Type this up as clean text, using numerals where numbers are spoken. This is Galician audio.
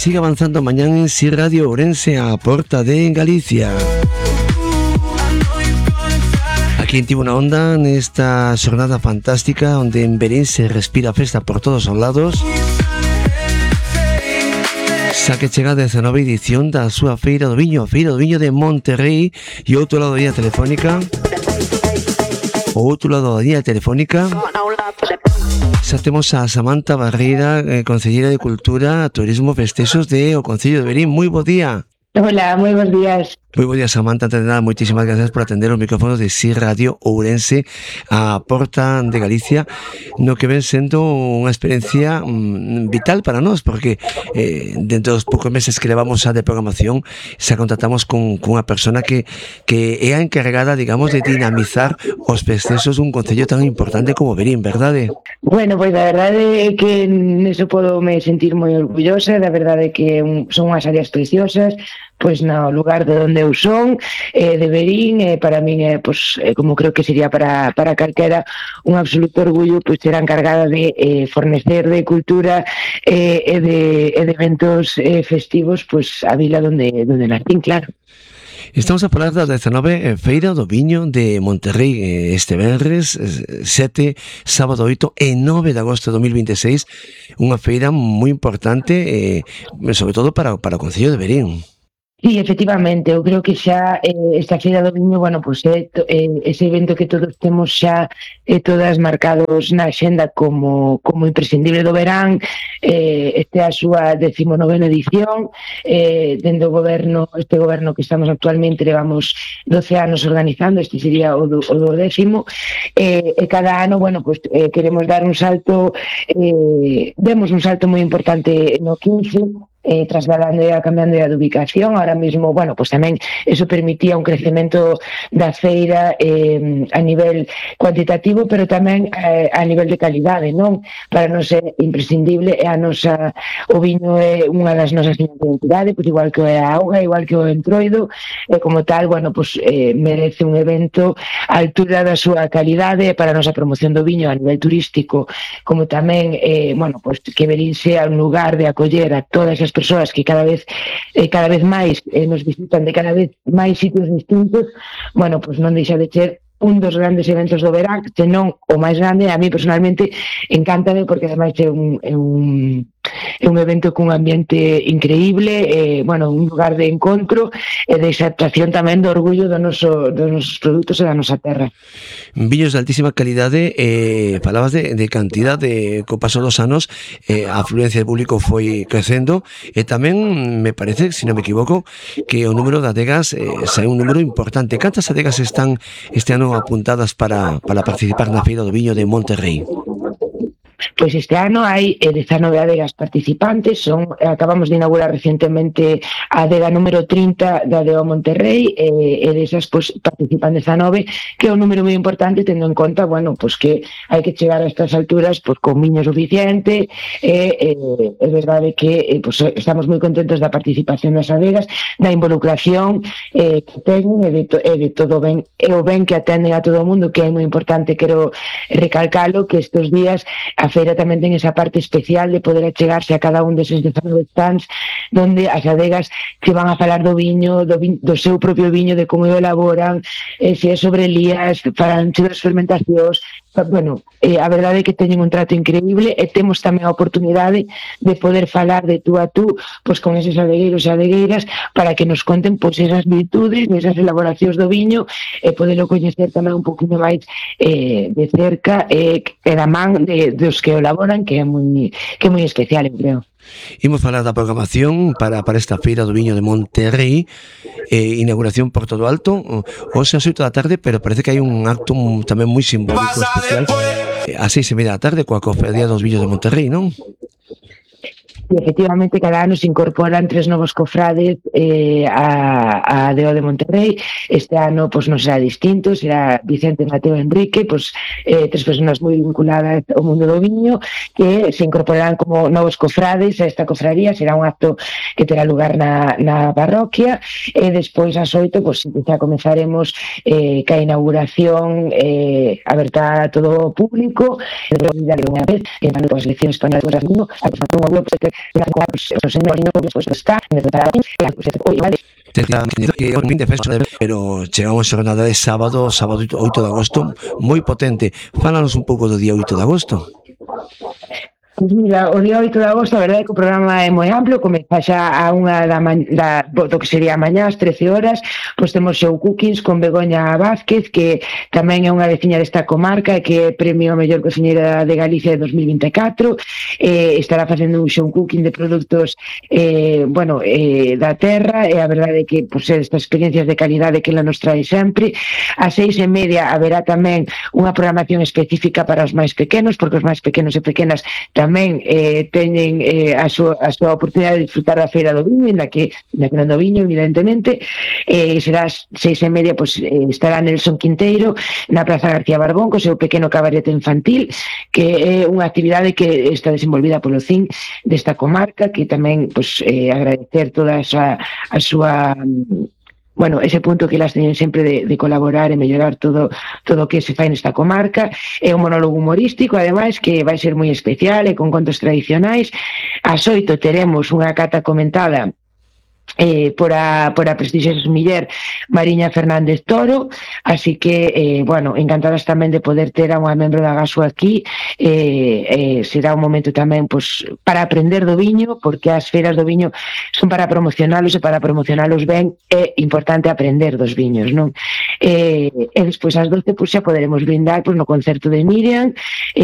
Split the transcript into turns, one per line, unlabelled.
sigue avanzando mañana en Si Radio Ourense a porta de Galicia. Aquí en Tivo na Onda, nesta xornada fantástica onde en Verín se respira festa por todos os lados, xa que chega a 19 edición da súa Feira do Viño, a Feira do Viño de Monterrei. E outro lado da línea telefónica, xa temos a Samantha Barreira, Concelleira de Cultura, Turismo, Festexos de o Concello de Verín. Moi bo día.
Hola, moi bons días.
Moi bo día, Samantha. Antes de nada, moitísimas gracias por atender os micrófonos de Si Radio Ourense a porta de Galicia, no que ven sendo unha experiencia vital para nós, porque dentro dos poucos meses que levamos xa de programación, xa contactamos con unha persona que é a encarregada, digamos, de dinamizar os festexos dun concello tan importante como Verín, verdade?
Bueno, pois a verdade é que neso podo me sentir moi orgullosa. Da verdade é que son unhas áreas preciosas, pois no lugar de onde eu son, de Verín, para min é, pois, como creo que sería para calquera, un absoluto orgullo, pois, ser encargada de fornecer de cultura e de eventos festivos, pois, a vila donde nacín, claro.
Estamos a falar da 19 Feira do Viño de Monterrei, este venres 7, sábado 8 e 9 de agosto de 2026, unha feira moi importante, sobre todo para o Concello de Verín.
Sí, efectivamente, eu creo que xa esta Feira do Viño, bueno, pois é ese evento que todos temos xa todas marcados na xenda como imprescindible do verán. Este é a súa 19ª edición, dende o goberno, este goberno que estamos actualmente, levamos 12 anos organizando, este sería o do 10º, e cada ano, bueno, pois queremos dar un salto, demos un salto moi importante no 15, trasladando e cambiando de ubicación. Ahora mesmo, bueno, pues tamén eso permitía un crecemento da feira a nivel cuantitativo, pero tamén a nivel de calidade, non? Para nos é imprescindible, é o viño é unha das nosas señas de identidade, pues igual que a auga, igual que o entroido, e como tal, bueno, pues merece un evento á altura da súa calidade para a nosa promoción do viño a nivel turístico, como tamén, bueno, pues que Verín sea un lugar de acoller a todas as persoas que cada vez máis nos visitan de cada vez máis sitios distintos. Bueno, pois non deixa de ser un dos grandes eventos do verán, senón o máis grande. A mí personalmente encántame porque ademais é un evento cun ambiente increíble, bueno, un lugar de encontro e de exaltación tamén do orgullo dos nosos produtos e da nosa terra.
Viños de altísima calidade, falabas de cantidad, co paso dos anos a afluencia de público foi crecendo, e tamén me parece, se non me equivoco, que o número de adegas sai un número importante. Cantas adegas están este ano apuntadas para participar na Feira do Viño de Monterrei?
Pois este ano hai 19 adegas participantes, acabamos de inaugurar recientemente a adega número 30 da Adega Monterrei, e desas pois participan 19, que é un número moi importante, tendo en conta, bueno, pois que hai que chegar a estas alturas pois con viño suficiente, é verdade que pois estamos moi contentos da participación das adegas, da involucración que teñen e de todo ben, e o ben que atenden a todo o mundo, que é moi importante. Quero recalcalo que estes días a feira tamén ten esa parte especial de poder achegarse a cada un deses 19 stands, donde as adegas que van a falar do viño, do seu propio viño, de como o elaboran, se é sobre lías, falan das fermentacións. Bueno, a verdade é que teñen un trato increíble, e temos tamén a oportunidade de poder falar de tú a tú pois con eses adegueiros e adegueiras para que nos conten pois esas virtudes, esas elaboracións do viño, e poderlo coñecer tamén un poquinho máis de cerca, e da man dos que o elaboran, que é moi especial, eu creo.
Imos falar da programación para esta Feira do Viño de Monterrei, inauguración por todo alto, hoxe ás 8 da tarde, pero parece que hai un acto tamén moi simbólico especial ás 6:30 da tarde coa Cofradía dos Viños de Monterrei, non?
E efectivamente cada ano se incorporan 3 novos cofrades a Adega de Monterrei. Este ano pois non será distinto, será Vicente, Mateo e Enrique, pois 3 persoas moi vinculadas ao mundo do viño, que se incorporarán como novos cofrades a esta cofradía. Será un acto que terá lugar na parroquia, e despois ás 8 pois xa comezaremos ca inauguración aberta a todo o público, unha vez que as eleccións españolas do viño, a
pero chegamos a jornada de sábado 8 de agosto, moi potente. Fálanos un pouco do día 8 de agosto.
Pois mira, o día 8 de agosto, a verdade é que o programa é moi amplo, comeza xa a unha do que sería mañá, ás 13 horas, pois temos show cookings con Begoña Vázquez, que tamén é unha veciña desta comarca e que é premio a mellor cociñeira de Galicia de 2024, estará facendo un show cooking de produtos da terra, e a verdade é que pois, estas experiencias de calidade que ela nos trae sempre. Ás 6:30 haberá tamén unha programación específica para os máis pequenos, porque os máis pequenos e pequenas tamén teñen a súa oportunidade de disfrutar da Feira do Viño, ainda que non do viño, evidentemente. Será ás 6:30, pois, estará Nelson Quinteiro na Praza García Barbón co seu pequeno cabaret infantil, que é unha actividade que está desenvolvida polo CIN desta comarca, que tamén pois, agradecer toda a súa ese punto que elas teñen sempre de colaborar e mellorar todo o que se fai nesta comarca. É un monólogo humorístico, ademais, que vai ser moi especial e con contos tradicionais. Ás 8 teremos unha cata comentada por a prestixiosa muller Mariña Fernández Toro, así que encantadas tamén de poder ter a unha membro da GASO aquí. Será un momento tamén pois, para aprender do viño, porque as feiras do viño son para promocionalos, e para promocionalos ben é importante aprender dos viños, non? E despois ás 12 pois, xa poderemos brindar pois, no concerto de Miriam,